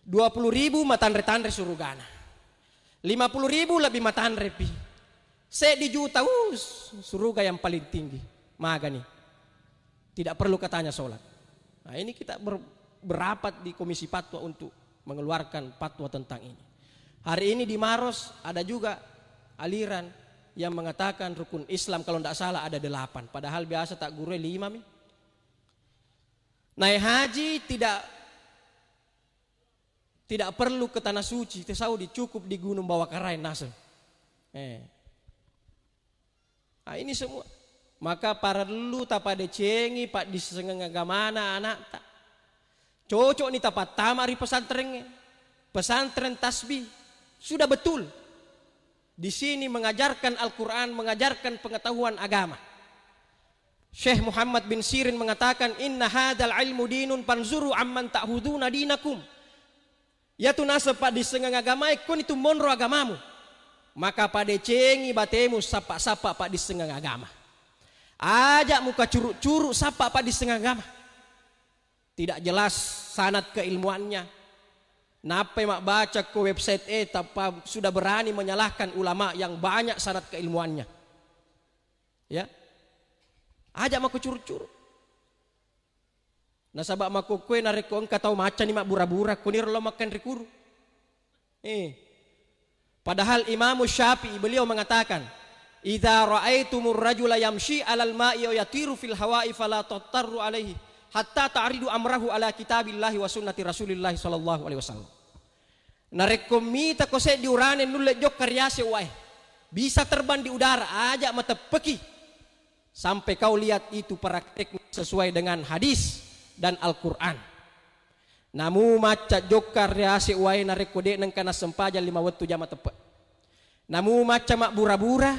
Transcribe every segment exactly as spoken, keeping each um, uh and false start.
Dua puluh ribu matanre-tanre surugana. Lima puluh ribu lebih matanre pi. Seddi juta, uh, suruga yang paling tinggi. Magani. Tidak perlu katanya sholat. Nah, ini kita ber-, berapat di Komisi Fatwa untuk mengeluarkan fatwa tentang ini. Hari ini di Maros ada juga aliran yang mengatakan rukun Islam kalau tidak salah ada delapan. Padahal biasa tak guru lima mi. Naik haji tidak tidak perlu ke tanah suci, ke Saudi, cukup di Gunung Bawakaraeng naseng. Eh. Ah, ini semua. Maka parellu tapadecengi paddissengeng agamana anakta. Cocok ni tapattama ri pesantrengnge. Pesantren tasbih. Sudah betul. Di sini mengajarkan Al-Quran, mengajarkan pengetahuan agama. Syekh Muhammad bin Sirin mengatakan, "Inna hadal ilmu dinun fanzuru amman ta'khuduna dinakum." Iyatu naseng paddissengeng agamae, koni tu monro agamamu. Maka padecengi batemu sappa-sappa paddissengeng agama. Aja muka curu-curu sappa paddissengeng agama. Tidak jelas sanad keilmuannya. Nappai mabbaca ko website e, tappa sudah berani menyalahkan ulama yang banyak sanad keilmuannya. Ya. Aja mako curu-curu. Nasaba makkukkuwe narekko engka tau maccani mabbura-bura, kuniro lao makkanre kuru. Eh. Padahal Imamu Syafi'i beliau mengatakan, "Idza ra'aitumur rajula yamshi 'alal ma'i wa yatiru fil hawa'i fala tattaru alaihi hatta ta'ridu amrahu ala kitabillahi wa sunnati Rasulillahi sallallahu alaihi wasallam." Narekko mitako seddi urane nulle jokka ri ase wae, bisa terbang di udara, aja mateppeki sampai kau lihat itu prakteknya sesuai dengan hadis dan Al-Quran. Namu macca jokka ri ase wae narekko de' nengka nassempajang lima wettu jama teppe'. Namu macca mabbura-bura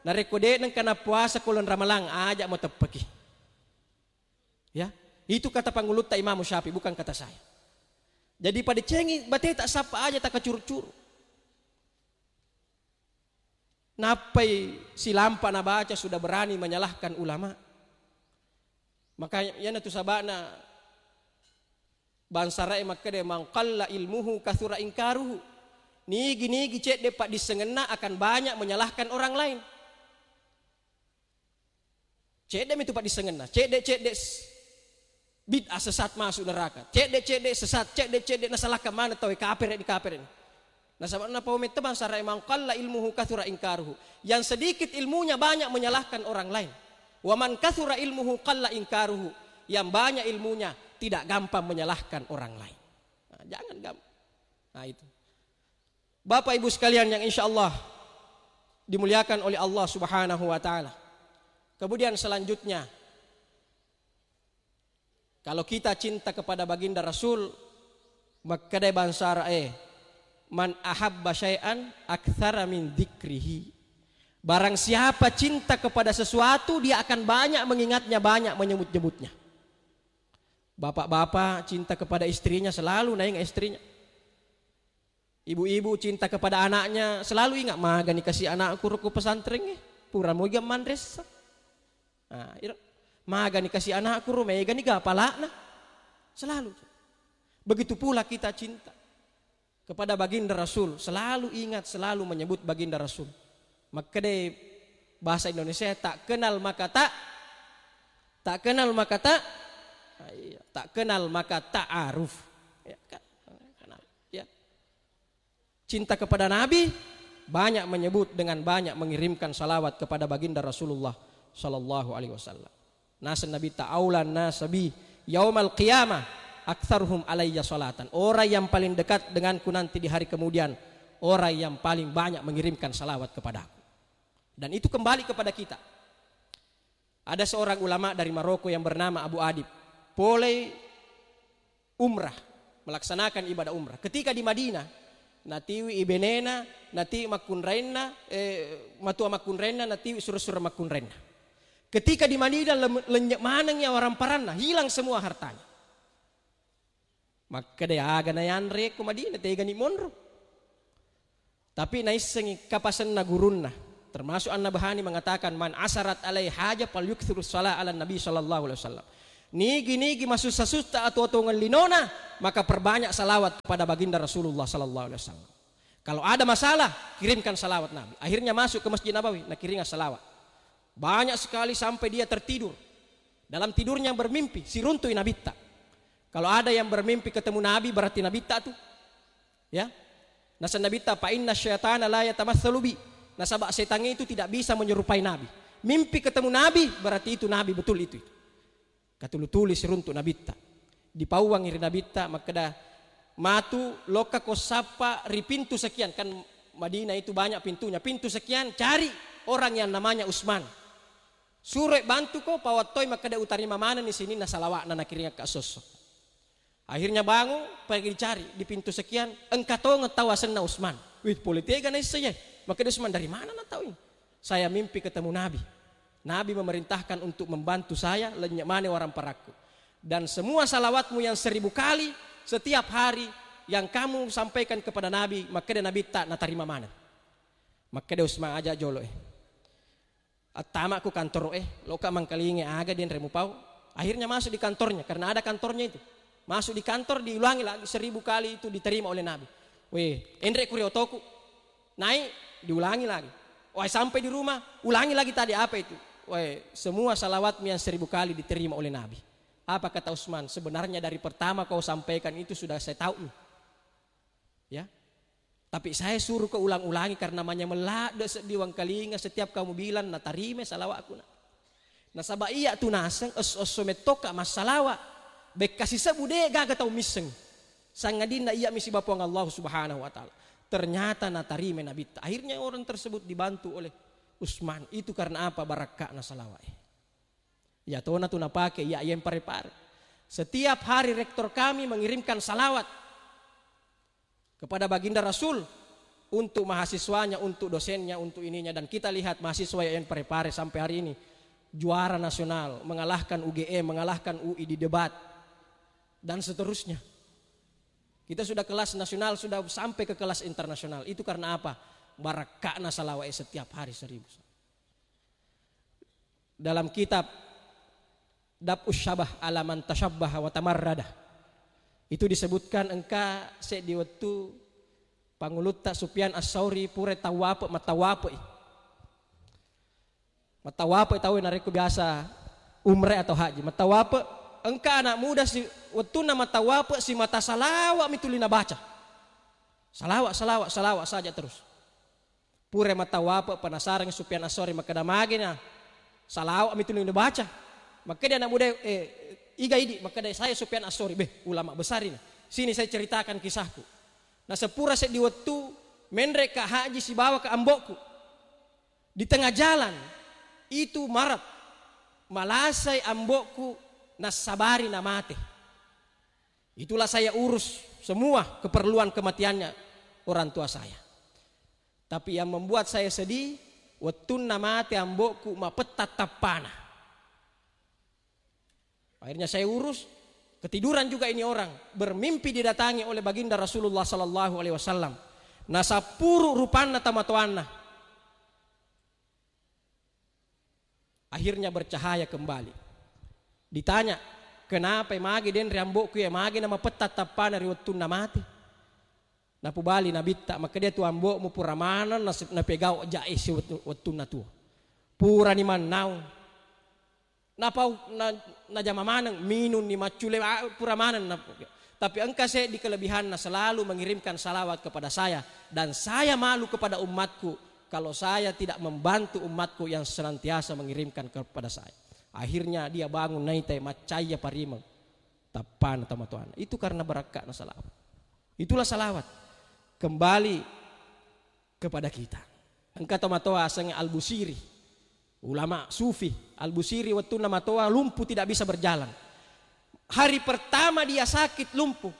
narekko de' nengka nappuasa ko uleng Ramalang, aja mateppeki. Ya, itu kata pangulutta Imamu Syafi'i, bukan kata saya. Jadi padecengi bateta sappa aja takacuru-curu. Nappai silampa nabaca sudah berani menyalahkan ulama. Maka iyanatu saba'na bangsarae makkeda, "Man qalla ilmuhu kathura inkaruhu." Nigi-nigi cedde paddissengenna akan banyak menyalahkan orang lain. Cedde mitu paddissengenna, cedde-cedde s-, bid'ah sesat masuk neraka, cedde-cedde sesat, cedde-cedde nasalahkan maneng tauwe, kapere' ni, kapere' ni. Nasaba napau metta bangsarae, "Man qalla ilmuhu kathura inkaruhu." Yang sedikit ilmunya banyak menyalahkan orang lain. "Wa man kathura ilmuhu qalla inkaruhu." Yang banyak ilmunya tidak gampang menyalahkan orang lain. Nah, jangan gampang. Nah, itu. Bapak Ibu sekalian yang insya Allah dimuliakan oleh Allah Subhanahu wa Ta'ala. Kemudian selanjutnya, kalau kita cinta kepada baginda Rasul, makkedai bangsa Arab, eh, "Man ahabba syai'an aktsara min dzikrihi." Barang siapa cinta kepada sesuatu, dia akan banyak mengingatnya, banyak menyebut-nyebutnya. Bapak-bapak cinta kepada istrinya, selalu naingat istrinya. Ibu-ibu cinta kepada anaknya, selalu ingat, "Magani kasi anakku ro ku pesantrengnge, pura mogi manressa." Nah, iro, "Magani kasi anakku ro, megani ga pala'na." Selalu. Begitu pula kita cinta kepada baginda Rasul, selalu ingat, selalu menyebut baginda Rasul. Makkede bahasa Indonesia, tak kenal maka tak, tak kenal maka tak, ah, iya, tak kenal maka ta'aruf. Ya, kan? Kenal. Ya. Cinta kepada Nabi, banyak menyebut dengan banyak mengirimkan salawat kepada baginda Rasulullah sallallahu alaihi wasallam. Naseng Nabi, "Ta'aulan nasabi yaumal qiyamah aktsaruhum alayya salatan." Orang yang paling dekat denganku nanti di hari kemudian, orang yang paling banyak mengirimkan salawat kepadaku. Dan itu kembali kepada kita. Ada seorang ulama dari Maroko yang bernama Abu Adib. Pole umrah, melaksanakan ibadah umrah. Ketika di Madinah, natiwi ibenena, natiwi makkunrainna, eh, matua makkunrainna, natiwi sura-sura makkunrainna. Ketika di Madinah, lem-, lenyek maneng ya orang paranna, hilang semua hartanya. Makkeda, "Aga nayanre ko Madinah, tegani monro." Tapi naissengi kapasenna gurunna, termasuk An-Nabhani mengatakan, "Man asarat alai haja fal yukthirus salah ala Nabi sallallahu alaihi wasallam." Nigi-nigi masussa-sussa atau tongeng linona, maka perbanyak salawat kepada baginda Rasulullah sallallahu alaihi wasallam. Kalau ada masalah, kirimkan salawat Nabi. Akhirnya masuk ke Masjid Nabawi, nakiringa salawat. Banyak sekali sampai dia tertidur. Dalam tidurnya bermimpi, siruntui Nabitta. Kalau ada yang bermimpi ketemu Nabi, berarti Nabitta tu. Ya. Nasa Nabitta, "Fa inna syaitana la yatamatsalu bi." Nasaba setan itu tidak bisa menyerupai Nabi. Mimpi ketemu Nabi, berarti itu Nabi betul itu. Katulu-tuli siruntu Nabitta. Dipauangi ri Nabitta, makkeda, "Matu, lokka ko sappa ri pintu sekian." Kan Madinah itu banyak pintunya. "Pintu sekian, cari orang yang namanya Usman. Suroi bantuko, pawattoi makkeda utarima manenni sininna salawa'na nakiringakka sosso." Akhirnya bangun, pergi dicari di pintu sekian, engka tongeng tau asenna Usman. Wih, pole tega naisseng, ye. Makkeda Usman, "Dari mana na tau ini?" "Saya mimpi ketemu Nabi. Nabi memerintahkan untuk membantu saya, lennye mane warang parakku. Dan semua salawatmu yang seribu kali, setiap hari yang kamu sampaikan kepada Nabi, makkeda Nabitta natarima maneng." Makkeda Usman, "Aja jolo, eh. Attama ku kantoro, eh, loka mangkalinge aga denre mupau." Akhirnya masuk di kantornya, karena ada kantornya itu. Masuk di kantor, diulangi lagi seribu kali itu diterima oleh Nabi. "Weh, enre kuri otoku." Naik, diulangi lagi. Wah, sampai di rumah, ulangi lagi tadi apa itu. Wah, semua salawatmu yang seribu kali diterima oleh Nabi. Apa kata Usman? "Sebenarnya dari pertama kau sampaikan itu sudah saya tahu nih." Ya. "Tapi saya suruh kau ulang-ulangi karena manyameng ladde seddi wangkalinga setiap kamu bilang natarima salawatku na." Nasaba iya tu naseng esso-esso mettoka massalawa. Bekka sisebbu de gaga tau misseng. Sangadinna iya mi siba Puang Allah Subhanahu wa Ta'ala. Ternyata natarima Nabitta. Akhirnya orang tersebut dibantu oleh Usman. Itu karena apa? Barakka'na salawat. Iya tona tu napake, iya yang pare-pare. Setiap hari rektor kami mengirimkan salawat kepada baginda Rasul untuk mahasiswanya, untuk dosennya, untuk ininya. Dan kita lihat mahasiswa yang pare-pare sampai hari ini juara nasional, mengalahkan U G M, mengalahkan U I di debat, dan seterusnya. Kita sudah kelas nasional, sudah sampai ke kelas internasional. Itu karena apa? Barakka'na salawat setiap hari seribu. Dalam kitab Daf'us Syabah ala man tasyabbaha wa tamarrada, itu disebutkan engka seddi wettu pangulutta Sufyan As-Sauri pura tawape, matawape. Matawape tau narekko biasa umrah atau haji. Matawape, engka anak muda si wettunna matawape simata salawat mi tuli nabaca. Salawat, salawat, salawat saja terus. Pura matawape, penasaran Sufyan As-Sauri, makkeda, "Magi na salawat mi tuli nabaca?" Makkeda anak muda, "Eh, iga idi?" Makkeda, "Saya Sufyan As-Sauri." "Beh, ulama besar ini. Sini saya ceritakan kisahku." Nasepura seddi wettu, menre ka haji sibawa ka ambokku. Di tengah jalan itu marat, malasai ambokku, nassabari namate. Itulah saya urus semua keperluan kematiannya orang tua saya. Tapi yang membuat saya sedih, wettunna mate ambokku, mapetta tappana. Akhirnya saya urus, ketiduran juga ini orang, bermimpi didatangi oleh baginda Rasulullah sallallahu alaihi wasallam. Nasappuru rupanna tomatoanna. Akhirnya bercahaya kembali. Ditanya, "Kenapa, magi denre ambokku ya, magi namapetta tappana ri wettunna mate?" Napubali Nabitta, "Makkeda tu ambokmu pura maneng nas-, napegau jae si wettu-, wettunna tuo. Purani mannaung. Napau-, na-, najama maneng, minunni, maccule, a-, pura maneng na-, tapi engka seddi kelebihanna, selalu mengirimkan salawat kepada saya, dan saya malu kepada umatku kalau saya tidak membantu umatku yang senantiasa mengirimkan kepada saya." Akhirnya dia bangun, naitai, maccaya parimeng tappana tomatoanna. Itu karena barakka'na salawat. Itulah salawat kembali kepada kita. Engka tomatoa asengnge Al-Busiri, ulama sufi. Al-Busiri wettunna matoa lumpuh, tidak bisa berjalan. Hari pertama dia sakit lumpuh,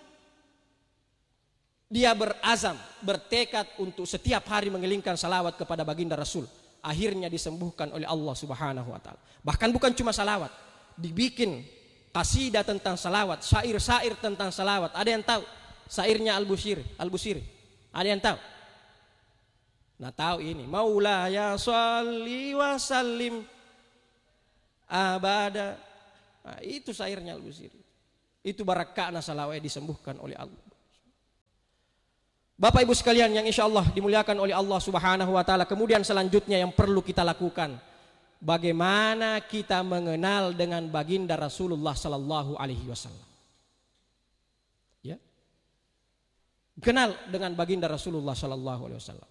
dia berazam, bertekad untuk setiap hari mengelingkan salawat kepada baginda Rasul. Akhirnya disembuhkan oleh Allah Subhanahu wa Ta'ala. Bahkan bukan cuma salawat, dibikin kasidah tentang salawat, syair-syair tentang salawat. Ada yang tahu syairnya Al-Busiri? Al-Busiri. Ada yang tahu? Nah, tahu ini. "Maulaya shalli wa sallim abada Nah, itu syairnya Al-Busiri. Itu barakka'na salawat disembuhkan oleh Allah. Bapak Ibu sekalian yang insya Allah dimuliakan oleh Allah Subhanahu wa Ta'ala, kemudian selanjutnya yang perlu kita lakukan, bagaimana kita mengenal dengan Baginda Rasulullah Sallallahu Alaihi Wasallam. Ya. Kenal dengan Baginda Rasulullah Sallallahu Alaihi Wasallam.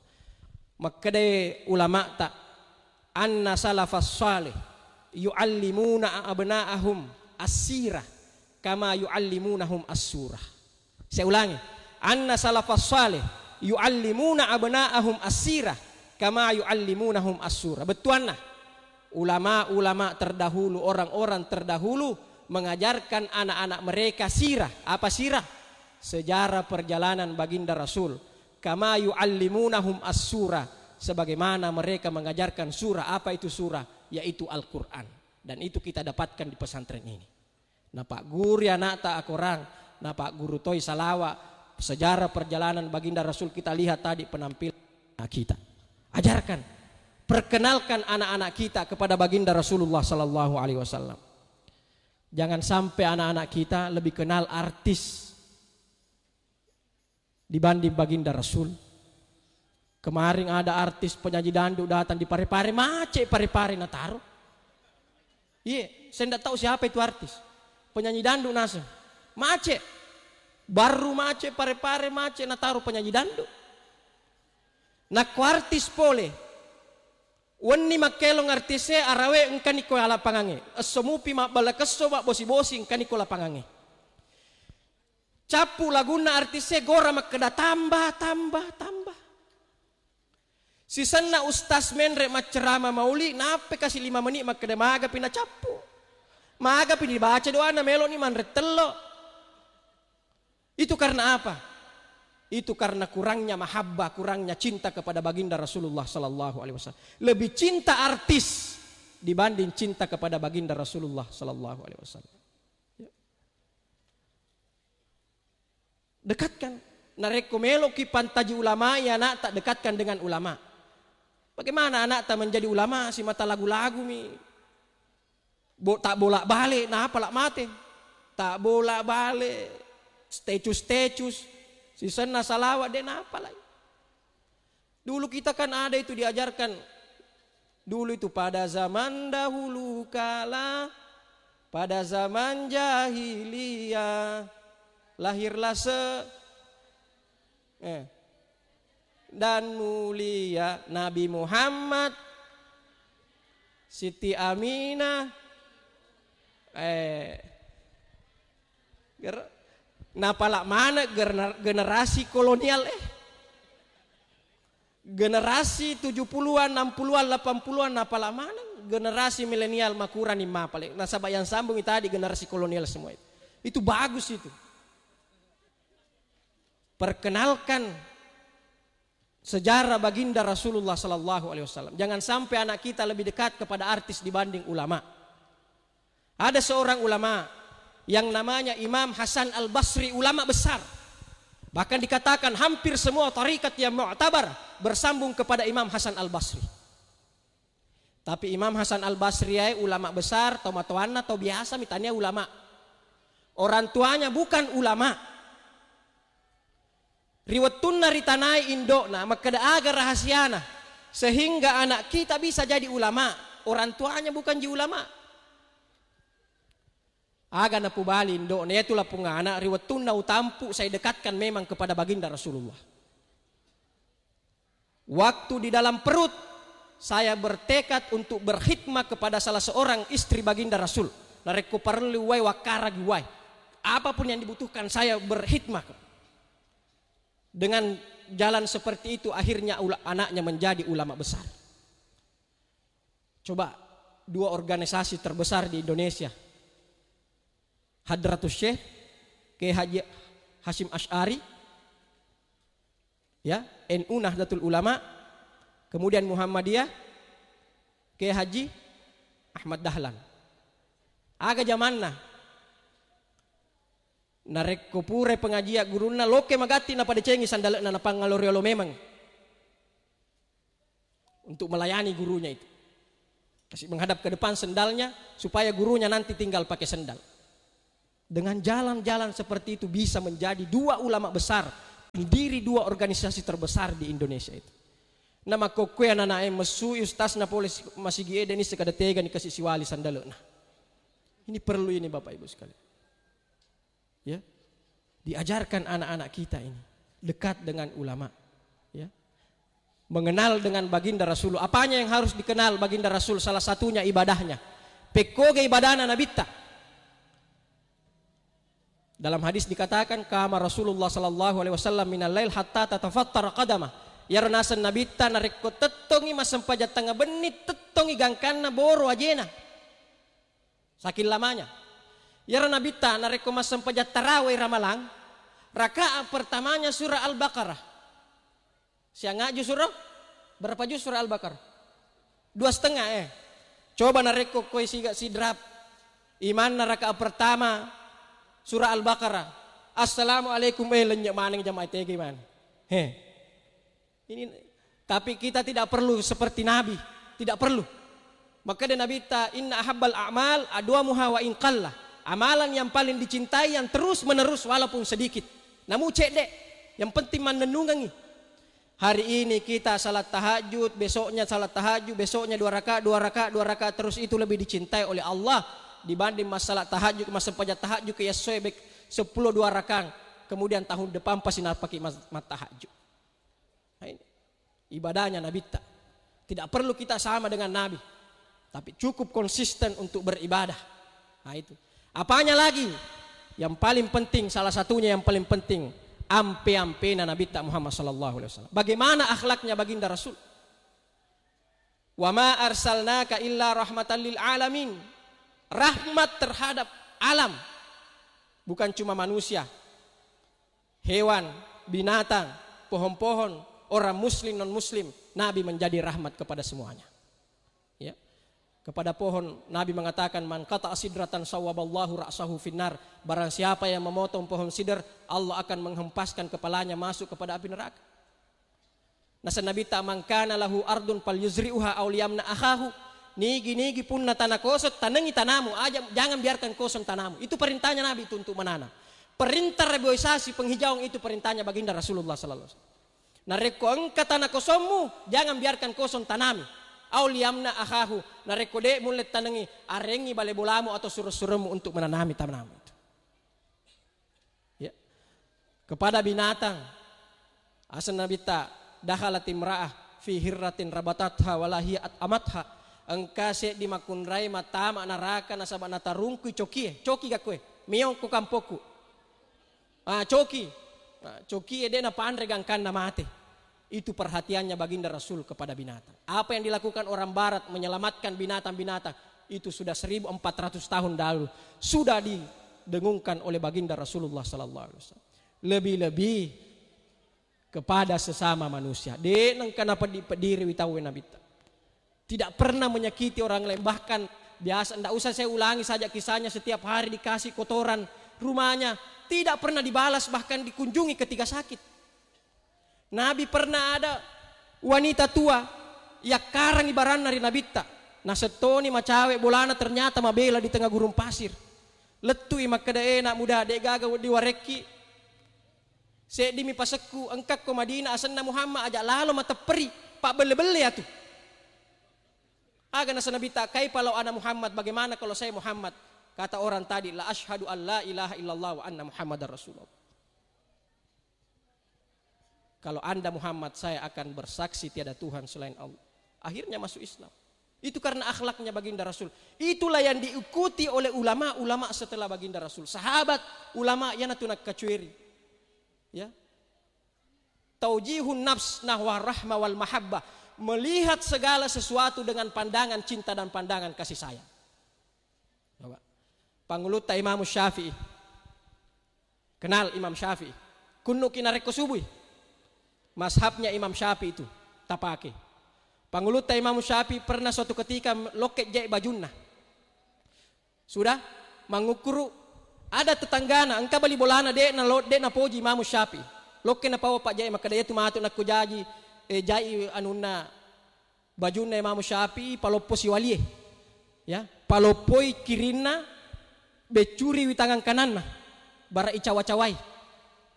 Makkeda ulama'ta, "Anna salafas salih yu'allimuna abna'ahum as-sirah kama yu'allimunahum as-surah." Saya ulangi, "Anna salafas salih yu'allimuna abna'ahum as-sirah kama yu'allimunahum as-surah." Bettuanna, ulama-ulama terdahulu, orang-orang terdahulu mengajarkan anak-anak mereka sirah. Apa sirah? Sejarah perjalanan Baginda Rasul. Kama yu'allimunahum as-surah, sebagaimana mereka mengajarkan surah. Apa itu surah? Yaitu Al-Quran. Dan itu kita dapatkan di pesantren ini. Napagguru anakta akorang, napagguru toi salawa, sejarah perjalanan Baginda Rasul, kita lihat tadi penampilan kita. Ajarkan, perkenalkan anak-anak kita kepada Baginda Rasulullah Sallallahu Alaihi Wasallam. Jangan sampai anak-anak kita lebih kenal artis dibanding Baginda Rasul. Kemarin ada artis penyanyi dangdut datang di Parepare, macet Parepare nataro. Iya, saya ndak tahu siapa itu artis. Penyanyi dangdut naseng. Macet. Baru macet Parepare, macet nataro penyanyi dangdut. Nakko artis pole. Wenni makkelong artise, arawe engkani ko lapangange. Esso mupi mabbala kesso, mabbosi-bosi engkani ko lapangange. Cappu lagunna artise, gora makkeda, "Tambah, tambah, tambah." Sisenna ustaz menre maccerama mauli, nappe kasi lima menit makkeda, "Magapi nacappu? Magapi dibaca doana, meloni manre tello?" Itu karena apa? Itu karena kurangnya mahabbah, kurangnya cinta kepada Baginda Rasulullah Sallallahu Alaihi Wasallam. Lebih cinta artis dibanding cinta kepada Baginda Rasulullah Sallallahu Alaihi Wasallam. Ya. Dekatkan. Narekko meloki pantaji ulama, ya anakta dekatkan dengan ulama. Bagaimana anakta menjadi ulama? Simata lagu-lagu mi. Bo-, tak bolak-balik, napa la mate? Tak bolak-balik, status-status, sisenna salawat, de napa lai. Dulu kita kan ada itu diajarkan. Dulu itu pada zaman dahulu kala, pada zaman jahiliyah, lahirlah se-, eh, dan mulia Nabi Muhammad, Siti Aminah, eh, ger-, napala mana gener-, generasi kolonial, eh. Generasi tujuh puluhan, enam puluhan, delapan puluhan, napala maneng generasi milenial makurani mapale. Nasaba yang sambungi tadi generasi kolonial semua itu. Itu bagus itu. Perkenalkan sejarah Baginda Rasulullah Sallallahu Alaihi Wasallam. Jangan sampai anak kita lebih dekat kepada artis dibanding ulama. Ada seorang ulama yang namanya Imam Hasan Al-Basri, ulama besar. Bahkan dikatakan hampir semua tarikat yang mu'tabar bersambung kepada Imam Hasan Al-Basri. Tapi Imam Hasan Al-Basri yae ulama besar, tomatoanna to biasa mitania ulama. Orang tuanya bukan ulama. Ri wettunna ritanai indo'na, makkeda aga rahasiana sehingga anak kita bisa jadi ulama, orang tuanya bukan ji ulama. Aga napubali indo'na, "Iyatu lapung anak, ri wettunna utampu, saya dekatkan memang kepada Baginda Rasulullah. Waktu di dalam perut, saya bertekad untuk berkhidmah kepada salah seorang istri Baginda Rasul. Narekko parellu uwai, wakkaragi uwai. Apapun yang dibutuhkan, saya berkhidmah." Dengan jalan seperti itu, akhirnya ula-, anaknya menjadi ulama besar. Coba, dua organisasi terbesar di Indonesia, Hadratus Syekh Kiai Haji Hasyim Asy'ari, ya, N U Nahdlatul Ulama, kemudian Muhammadiyah Kiai Haji Ahmad Dahlan. Aga jamanna? Narekko purai pengajian gurunna, loke magatti napadecengi sandale'na, napangngalori olo memang untuk melayani gurunya itu. Kasih menghadap ke depan sendalnya, supaya gurunya nanti tinggal pakai sendal. Dengan jalan-jalan seperti itu bisa menjadi dua ulama besar, pendiri dua organisasi terbesar di Indonesia itu. Namakkokkoe anak-anak e messui ustazna pole si-, masigi e, deni sekada tega ni kasi siwali sandalena. Ini perlu ini, Bapak Ibu sekalian. Ya. Diajarkan anak-anak kita ini dekat dengan ulama. Ya. Mengenal dengan baginda Rasul. Apanya yang harus dikenal baginda Rasul? Salah satunya ibadahnya. Pekkoga ibadahna Nabitta. Dalam hadis dikatakan, "Qama Rasulullah sallallahu alaihi wasallam minal lail hatta tatafattara qadamah." Iyaro naseng Nabitta narekko tettongi massempajang tengnga benni, tettongi gangkanna boro ajena. Saking lamanya. Iyaro Nabitta narekko massempajang tarawih ramalang, rakaat pertamanya surah Al-Baqarah. Siangaju surah? Berapa juz surah Al-Baqarah? Dua setengah, eh. Coba narekko koe siga sidrap. Imanna rakaat pertama surah Al-Baqarah. Assalamualaikum, eh, lenye maneng jamaah tege man. He. Ini, tapi kita tidak perlu seperti Nabi, tidak perlu. Makkeda Nabitta, "Inna ahabbal a'mal adwamuha wa in qalla." Amalan yang paling dicintai yang terus menerus walaupun sedikit. Namu cedde, yang penting mannennungengi. Hari ini kita salat tahajud, besoknya salat tahajud, besoknya dua rakaat, dua rakaat, dua rakaat, terus itu lebih dicintai oleh Allah dibanding masalah tahajud, massempajang tahajud ke yassoe bek sepuluh dua rakaat. Kemudian tahun depan pasti napaki mas-, mat tahajud. Nah, ini ibadahnya Nabitta. Tidak perlu kita sama dengan Nabi, tapi cukup konsisten untuk beribadah. Nah, itu. Apanya lagi? Yang paling penting, salah satunya yang paling penting, ampe-ampena Nabitta Muhammad sallallahu alaihi wasallam. Bagaimana akhlaknya baginda Rasul? "Wa ma arsalnaka illa rahmatan lil alamin." Rahmat terhadap alam. Bukan cuma manusia, hewan, binatang, pohon-pohon, orang muslim, non muslim, Nabi menjadi rahmat kepada semuanya. Ya. Kepada pohon, Nabi mengatakan, "Man qata'a sidratan sawwaballahu ra'sahu finnar." Barang siapa yang memotong pohon sidr, Allah akan menghempaskan kepalanya masuk kepada api neraka. Naseng Nabitta, "Man kana lahu ardun falyuzri'uha aw liyamna akhahu." Nigi-nigi punna tanah kosong, tanengi tanamu, aja, jangan biarkan kosong tanamu. Itu perintahnya Nabi itu untuk menanam. Perintah reboisasi penghijauan itu perintahnya baginda Rasulullah sallallahu alaihi wasallam. Narekko engka tanah kosongmu, jangan biarkan kosong, tanami. Aw liyamna akhahu, narekko de mulle tanengi, arengi bale bolamu atau sureng-surengmu untuk menanami tanamu itu. Ya. Kepada binatang, aseng Nabitta, "Dakhalat imra'ah fi hirratin rabatatha wala hiya at'amatha." Engka seddi makunrai matama naraka nasaba natarungkui cokie, coki gakkoe, meong ko kampokku. Ah, coki. Ah, cokie de napanre gangkanna mate. Itu perhatiannya baginda Rasul kepada binatang. Apa yang dilakukan orang barat menyelamatkan binatang-binatang, itu sudah seribu empat ratus tahun lalu sudah didengungkan oleh baginda Rasulullah sallallahu alaihi wasallam. Lebih-lebih kepada sesama manusia. De nengka napeddi-peddiriwi tauwe Nabitta. Tidak pernah menyakiti orang lain. Bahkan biasa, ndak usah saya ulangi saja kisahnya, setiap hari dikasih kotoran rumahnya. Tidak pernah dibalas, bahkan dikunjungi ketika sakit. Nabi pernah ada wanita tua yakkarangi baranna ri Nabitta. Nasettoni macawe bolana, ternyata mabela di tengah gurun pasir. Lettui makkeda, "Eh, nak muda, de gaga diwarekki. Seddimi pasekku, engkakko Madinah, asenna Muhammad, aja lalo matepperi, pabbelle-belle atu." Aga naseng Nabitta, "Kaifa law ana Muhammad, bagaimana kalau saya Muhammad?" Kata orang tadi, "La asyhadu an la ilaha illallah wa anna Muhammadar Rasulullah." Kalau Anda Muhammad, saya akan bersaksi tiada Tuhan selain Allah. Akhirnya masuk Islam. Itu karena akhlaknya baginda Rasul. Itulah yang diikuti oleh ulama-ulama setelah baginda Rasul. Sahabat, ulama, iyanatu nakkacueri. Ya. Taujihun nafs nahwa rahma wal mahabbah. Melihat segala sesuatu dengan pandangan cinta dan pandangan kasih sayang. Coba. Pangulutta Imam Syafi'i. Kenal Imam Syafi'i? Kunnuki narekko subui. Mazhabnya Imam Syafi'i itu tapake. Pangulutta Imam Syafi'i pernah suatu ketika lokke jai bajunna. Sudah mangukkuru, ada tetanggana, engka bali bolana, de na lo-, de napoji Imam Syafi'i. Lokke napawa pajai, makkeda, "Iya tu matu nakko jaji, eh, jai anunna bajunna Imam Syafi'i, paloppo siwalie." Ya, paloppoi kirinna, beccuriwi tangan kananna, bara icawa-cawai.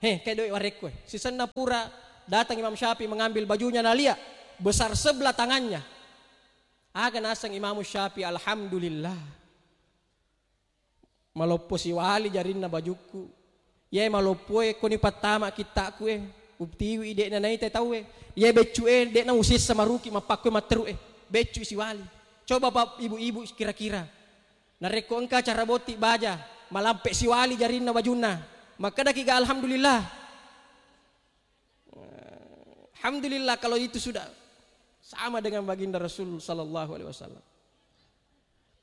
He, kedoi warekko. Sisenna pura datang Imam Syafi'i mengambil bajunya nalia, besar sebelah tangannya. Aga naseng Imam Syafi'i, "Alhamdulillah. Maloppo siwali jarinna bajukku. Iyae maloppoe koni pattama kitta'ku e. Utiwi de'na naita tauwe. Iyae beccu e de'na usessa maruki mappakku e matteru e. Beccu siwali." Coba, Pak, ibu-ibu kira-kira. Narekko engka acara botting baja, malampe siwali jarinna bajunna. Makkedaki ga alhamdulillah. Alhamdulillah kalau itu sudah sama dengan baginda Rasul sallallahu alaihi wasallam.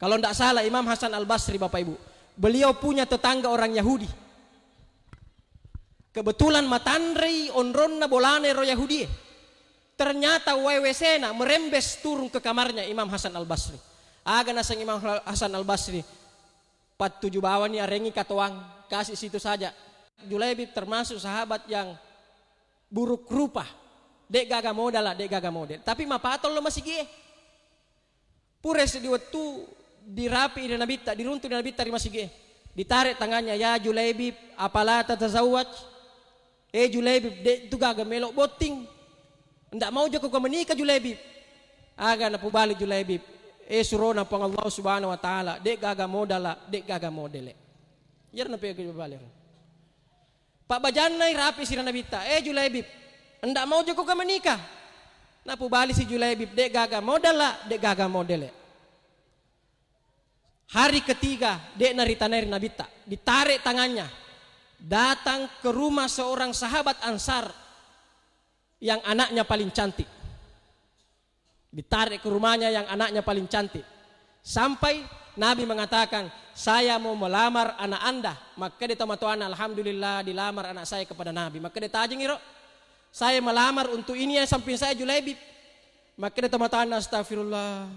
Kalau ndak salah Imam Hasan Al-Basri, Bapak Ibu, beliau punya tetangga orang Yahudi. Kebetulan matanrei onronna bolana ero Yahudi e. Ternyata wae W C-na merembes turun ke kamarnya Imam Hasan Al-Basri. Aga naseng Imam Hasan Al-Basri, pattuju bawani arengi katoang, kasih situ saja. Julaibib termasuk sahabat yang buruk rupa. Dek gaga modala, dek gaga model. Tapi mapatollo masigi e. Pura seddi wettu dirapi ri Nabitta, diruntu ri Nabitta ri masigi e. Ditarik tangannya, "Ya Julaibib, apala tatazawwaj?" "Eh Julaibib, dek tu gaga melo botting. Ndak mau jako kau menikah Julaibib." Aga napubali Julaibib, "Eh surona Puang Allah Subhanahu wa Ta'ala, dek gaga modala, dek gaga modele." Iyaro napubali. Pabbajannai rapi sira Nabitta, "Eh Julaibib, ndak mau jako kau menikah?" Napubali si Julaibib, "Dek gaga modala, dek gaga modele." Hari ketiga, dek naritanai ri Nabitta, ditarik tangannya, datang ke rumah seorang sahabat Ansar yang anaknya paling cantik. Ditarik ke rumahnya yang anaknya paling cantik. Sampai Nabi mengatakan, "Saya mau melamar anak Anda." Makkeda tomatoanna, "Alhamdulillah, dilamar anak saya kepada Nabi." Makkeda, "Tajengiro, saya melamar untuk ini yang samping saya, Julaibib." Makkeda tomatoanna, "Astagfirullah."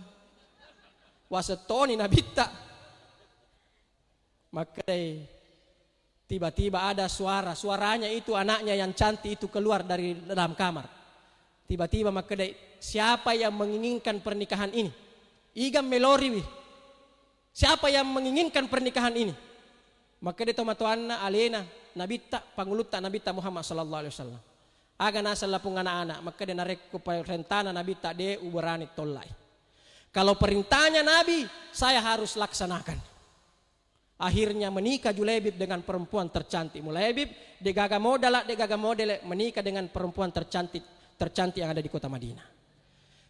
Wasettoni Nabitta. Makkedai, tiba-tiba ada suara, suaranya itu anaknya yang cantik itu keluar dari dalam kamar. Tiba-tiba makkedai, "Siapa yang menginginkan pernikahan ini? Iga meloriwi? Siapa yang menginginkan pernikahan ini?" Makkedai tomatoanna alena Nabitta, pangulutta Nabitta Muhammad sallallahu alaihi wasallam. Aga naseng lapung anak-anak, makkeda, "Narekko perintana Nabitta, de uberani tollai. Kalau perintahnya Nabi, saya harus laksanakan." Akhirnya menikah Julaibib dengan perempuan tercantik. Julaibib, degaga modala, degaga modele, menikah dengan perempuan tercantik, tercantik yang ada di kota Madinah.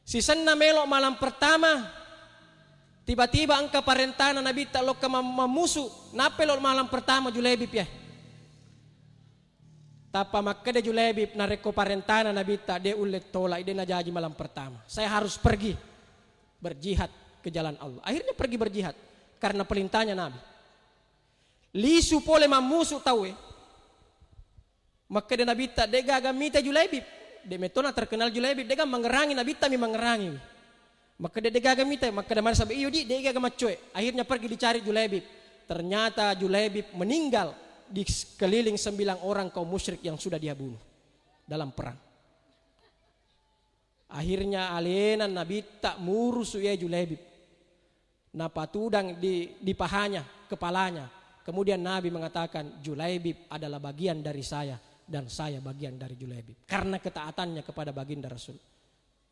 Sisenna melo malam pertama, tiba-tiba engka parentana Nabitta lokka mam-, mammusu, nappe lo malam pertama Julaibib ya. Tappa makkeda Julaibib, narekko parentana Nabitta, de ulle tolai, de najaji malam pertama. Saya harus pergi berjihad ke jalan Allah. Akhirnya pergi berjihad karena perintahnya Nabi. Lisu pole mammusu tauwe. Makkeda Nabitta, de gaga mita Julaibib. De metona terkenal Julaibib, de gaga mangerangi Nabitta mi mangerangi. Makkeda, "De gaga mita?" Makkeda maneng sahabat, "Iyo di, de gaga maccoe." Akhirnya pergi dicari Julaibib. Ternyata Julaibib meninggal di sekeliling sembilan orang kaum musyrik yang sudah dia bunuh dalam perang. Akhirnya alena Nabitta murusu iya Julaibib. Napatudang di, di pahanya, kepalanya. Kemudian Nabi mengatakan, "Julaibib adalah bagian dari saya dan saya bagian dari Julaibib." Karena ketaatannya kepada baginda Rasul.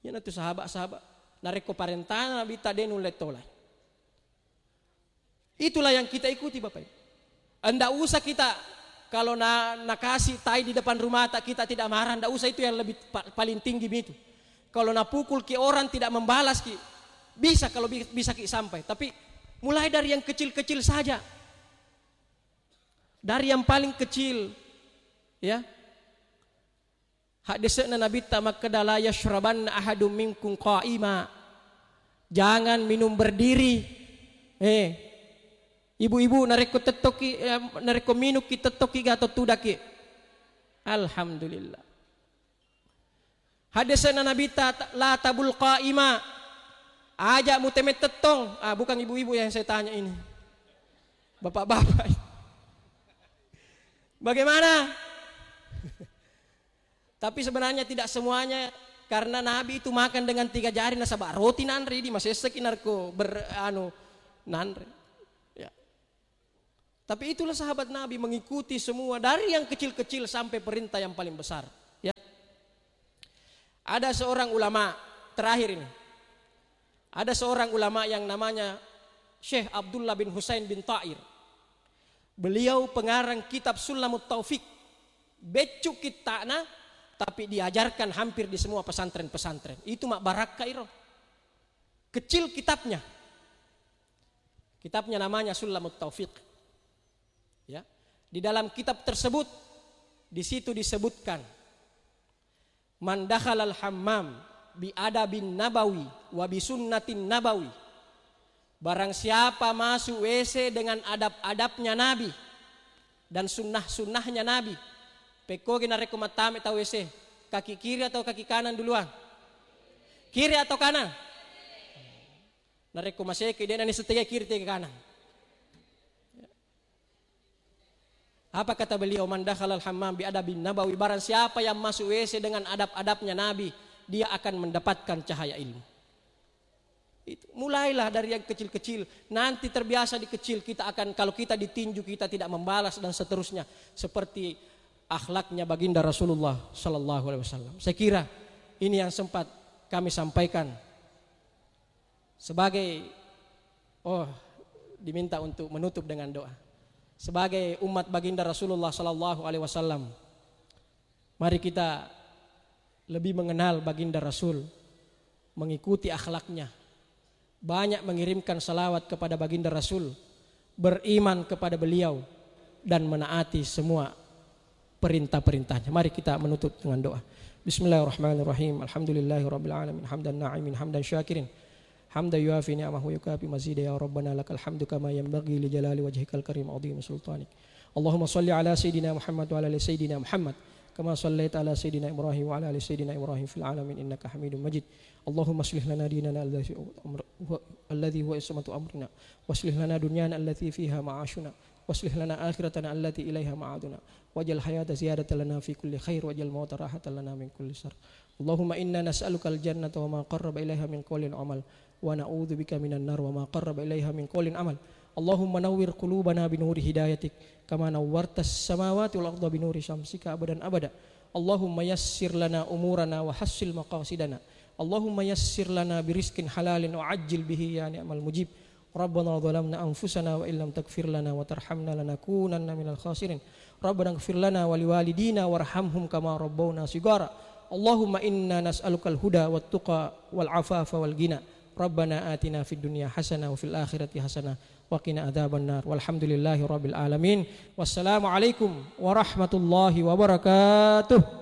Iyanatu sahabat-sahabat. Narekko parentana Nabitta de nulle tolai. Itulah yang kita ikuti, Bapak Ibu. Ndak usah kita, kalau na, nakasih tai di depan rumah tak, kita tidak marah, ndak usah, itu yang lebih pa-, paling tinggi itu. Kalau napukul ki orang tidak membalas ki, bisa kalau bi-, bisa ki sampai. Tapi mulai dari yang kecil-kecil saja. Dari yang paling kecil, ya. Haddese'na Nabitta makkeda, "La yashrabanna ahadum minkum qa'ima." Jangan minum berdiri. Eh, ibu-ibu, narekko tettoki, eh, narekko minukki tettoki ga to tudaki. Alhamdulillah. Haddese'na Nabitta, "La tabul qa'ima." Aja muteme tettong. Ah, bukan ibu-ibu yang saya tanya ini. Bapak-bapak. Bagaimana? Tapi sebenarnya tidak semuanya, karena Nabi itu makan dengan tiga jari, nasaba roti nanre di masessaki narko ber-, anu, nanre. Ya. Tapi itulah sahabat Nabi, mengikuti semua, dari yang kecil-kecil sampai perintah yang paling besar. Ya. Ada seorang ulama, terakhir ini. Ada seorang ulama yang namanya Syekh Abdullah bin Husain bin Ta'ir. Beliau pengarang kitab Sulamut Taufik. Beccu kitta'na, tapi diajarkan hampir di semua pesantren-pesantren. Itu mak barakka iro. Kecil kitabnya. Kitabnya namanya Sulamut Taufik. Ya. Di dalam kitab tersebut, di situ disebutkan, "Man dakhalal hammam bi adabin nabawi wa bi sunnatin nabawi." Barang siapa masuk W C dengan adab-adabnya Nabi dan sunnah-sunnahnya Nabi, pekkogi narekko mattame tau W C, kaki kiri atau kaki kanan duluan? Kiri atau kanan? Narekko maseki, de' nani setia kiri tega kanan. Apa kata beliau? "Man dakhalal hammam bi adabin nabawi." Barang siapa yang masuk W C dengan adab-adabnya Nabi, dia akan mendapatkan cahaya ilmu. Itu. Mulailah dari yang kecil-kecil. Nanti terbiasa di kecil, kita akan, kalau kita ditinju, kita tidak membalas dan seterusnya. Seperti akhlaknya Baginda Rasulullah sallallahu alaihi wasallam. Saya kira ini yang sempat kami sampaikan. Sebagai, oh, diminta untuk menutup dengan doa. Sebagai umat Baginda Rasulullah sallallahu alaihi wasallam, mari kita lebih mengenal Baginda Rasul, mengikuti akhlaknya, banyak mengirimkan salawat kepada Baginda Rasul, beriman kepada beliau, dan menaati semua perintah-perintahnya. Mari kita menutup dengan doa. Bismillahirrahmanirrahim. Alhamdulillahirabbil alamin. Hamdan na'imin, hamdan syakirin. Hamdan yuafi ni'amahu yukafi mazida. Ya Rabbana lakal hamdu kama yanbaghi li jalali wajhikal karim azim sultanik. Allahumma salli ala sayyidina Muhammad wa ala ali sayyidina Muhammad kama sallaita ala sayyidina Ibrahim wa ala ali sayyidina Ibrahim fil alamin innaka Hamidum Majid. Allahumma aslih lana dinana alladhi huwa amr-, huwa, alladhi huwa ismatu amrina. Wa aslih lana dunyana allati fiha ma'ashuna. Wa aslih lana akhiratana allati ilaiha ma'aduna. Waj'al hayata ziyadatan lana fi kulli khair, waj'al mauta rahatan lana min kulli syarr. Allahumma inna nas'aluka al-jannata wa ma qarraba ilaiha min qawlin wa amal, wa na'udzu bika minan nar wa ma qarraba ilaiha min qawlin amal. Allahumma nawwir qulubana bi nuri hidayatik, kama nawwartas samawati wal arda bi nuri syamsika abadan abada. Allahumma yassir lana umurana wa hassil maqasidana. Allahumma yassir lana bi rizqin halalin wa ajjil bihi ya ni'mal mujib. Rabbana zalamna anfusana wa illam taghfir lana wa tarhamna lanakunanna minal khasirin. Rabbana ighfir lana wa liwalidina warhamhum kama rabbawna shighara. Allahumma inna nas'alukal huda wat tuqa wal afafa wal ghina. Rabbana atina fid dunya hasanah wa fil akhirati hasanah wa qina adzabannar. Walhamdulillahi rabbil alamin. Wassalamualaikum warahmatullahi wabarakatuh.